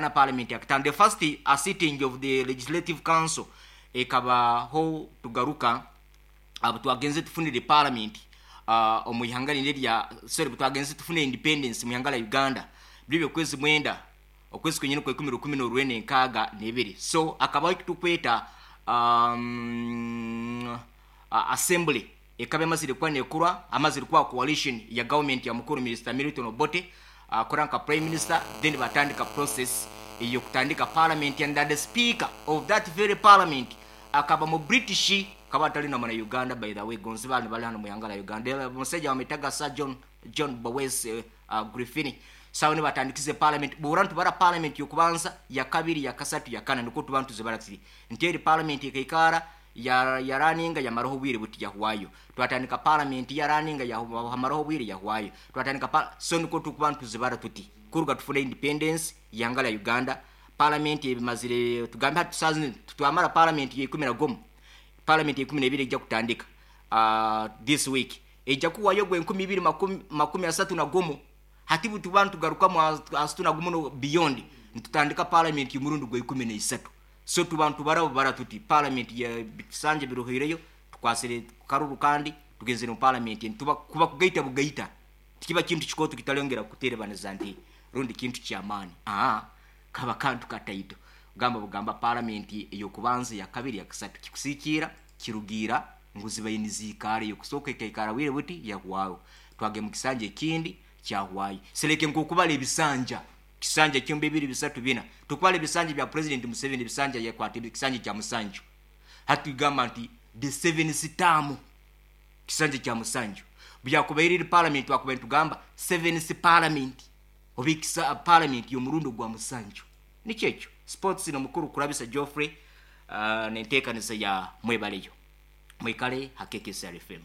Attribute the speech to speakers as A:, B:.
A: Yakana, parliament yakatano, the first sitting of the Legislative Council ekabaho. Tugaruka abo twagenze tufunire parliament omu ihanga lindi erya, sorry, twagenze tufune independence mu ihanga lya Uganda biri okwezi 9, okwezi kwenyini kwekumi, 1962. So akabaho ekitukweta assembly ekaba emazire kuba nekurwa, amazire kuba coalition ya government ya mukuru Minister Milton Obote akora nka prime minister. Then batandika process eyokutandika parliament, and that the speaker of that very parliament akaba mu British, kaba atali na muna Uganda. By the way, gonzi bali bali hano mu ihanga la Uganda, omusajja bamwitaga Sir John Bowes Griffin. Sawa ni batandikize parliament bura ntubara parliament yokubanza, ya kabiri, ya kasatu, ya kana, niko tuba ntuzibara tiri nti eri parliament ekaikara ya yaraninga yamaraho obwire buti, yahwayo. Twatandika parliament yaraninga, yamaraho obwire, yahwayo. Twatandika so niko tukuba ntuzibara tuti kuruga tufune independence yanga la Uganda, parliament ebimazire tugambe hati tusazi twamara parliament ya 11, parliament ya 12 ejja kutandika this week, ejja kuwayo gwe 2031. Hati butuba ntugarukamu asatu na gumu no beyond, ntutandika parliament y'umurundi gwe 13. So tuba ntubara bara tuti parliament ya bisanje biruhireyo, tukwasire karuru kandi tugenzere mu parliament, ntuba kuba kugaita bugaita tikiba kintu kikoto kitalongera kuterebaniza nti rundi kintu kyamaani. Kaba kantu kataito gamba bugamba parliament eyokubanza, ya kabiri, ya kasatu, kikusikiira kirugira ngu zibaye nizikara. Eyokusooka ekaikara bwire buti, yahwaho, twage mu kisanja ekindi, kyahwayo. Seleke nkokubala ebisanja, kisanja kyombi, bibiri, bisatu, bina, tukubala ebisanja bya President Museveni, ebisanja yakwata ekisanja kya 7. Hati tugamba nti the seventh term, kisanja kya 7. Byakubaire eri parliament, twakubaire tugamba seventh parliament oba ekisa parliament y'omurundi gwa 7. Nikyo ekyo. Sports nomukuru Kurabisa Geoffrey nenteekaniza ya mwebaleyo mwikale hakekesr FM.